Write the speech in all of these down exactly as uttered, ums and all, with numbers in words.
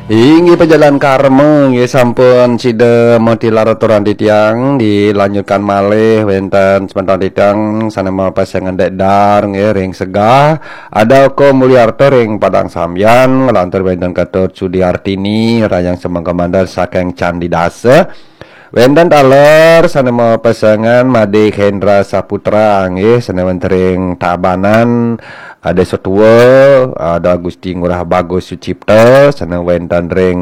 Inggih pejalan karma nggih sampun sida matilar aturang titiang, dilanjutkan malih wenten semeton titiang sane mapesengan Dek Dar nggih ring Segah, ada Ko Mulyarta ring Padang Sambian, lantur wenten Ketut Sudiartini rayang semeng komandan saking Candi Dasa. Wenten taler sane mapesengan Made Hendra Saputra nggih sane wenten ring Tabanan, ada Setua, ada Gusti Ngurah Bagus Sucipta, sane wenten ring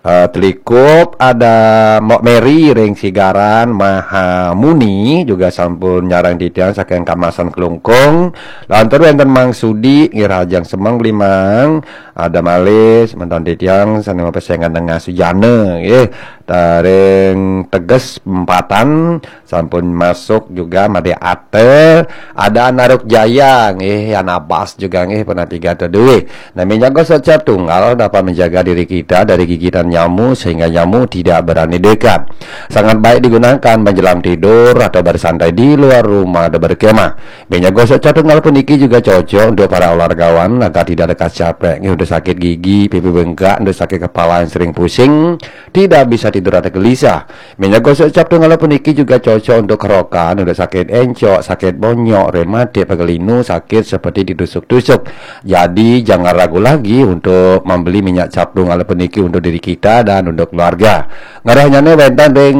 eh, Telikup, ada Mbok Mary ring Sigaran, Maha Muni juga sampun nyarang titiang saking Kamasan Klungkung, lantur wenten Mang Sudi nggih rajang semeng limang, ada malih semeton titiang sane mapesengan Nengah Sujana nggih, taring Teges Empatan, sampun masuk juga Made Ate, ada Naruk Jaya nggih, Anabas juga nggih, pernah tiga atau dua. Nah, minyak gosok cap tunggal dapat menjaga diri kita dari gigitan nyamuk sehingga nyamuk tidak berani dekat. Sangat baik digunakan menjelang tidur atau bersantai di luar rumah atau berkemah. Minyak gosok cap tunggal puniki juga cocok untuk para olahragawan agar tidak lekas capek, nggih, untuk sakit gigi, pipi bengkak, untuk sakit kepala yang sering pusing, tidak bisa tidur atau gelisah. Minyak gosok cap tunggal puniki juga cocok untuk kerokan, untuk sakit encok, sakit bonyok, rematik, pegal linu, sakit seperti ditusuk-tusuk. Jadi jangan ragu lagi untuk membeli minyak cap tunggal puniki untuk diri kita dan untuk keluarga. Ngerahnyane wenten ring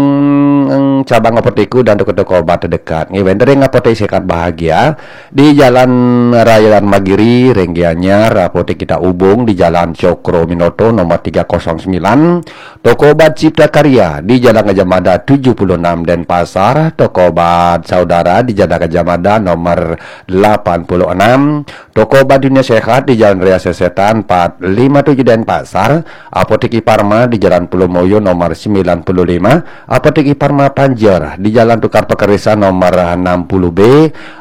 cabang apotek dan toko-toko obat terdekat. Nggih, wenten ring Apotek Sehat Bahagia di Jalan Raya Magiri, ring Gianyar, apotek kita hubung di Jalan Cokro Minoto nomor tiga kosong sembilan, toko obat Cipta Karya di Jalan Gajah Mada tujuh puluh enam Denpasar, toko obat Saudara di Jalan Gajah Mada nomor delapan puluh enam, toko obat Dunia Sehat di Jalan Raya Sesetan empat lima tujuh Denpasar, Apotek Iparma di Jalan Pulau Moyo nomor sembilan puluh lima, Apotek Iparma Panjer di Jalan Tukar Pekerisa nomor enam puluh B,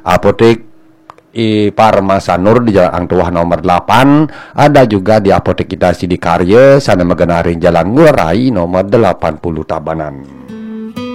Apotek Iparma Sanur di Jalan Ang Tuah nomor delapan, ada juga di Apotek Kita Sidikarya, sana magenah ring Jalan Ngurah Rai nomor delapan puluh Tabanan.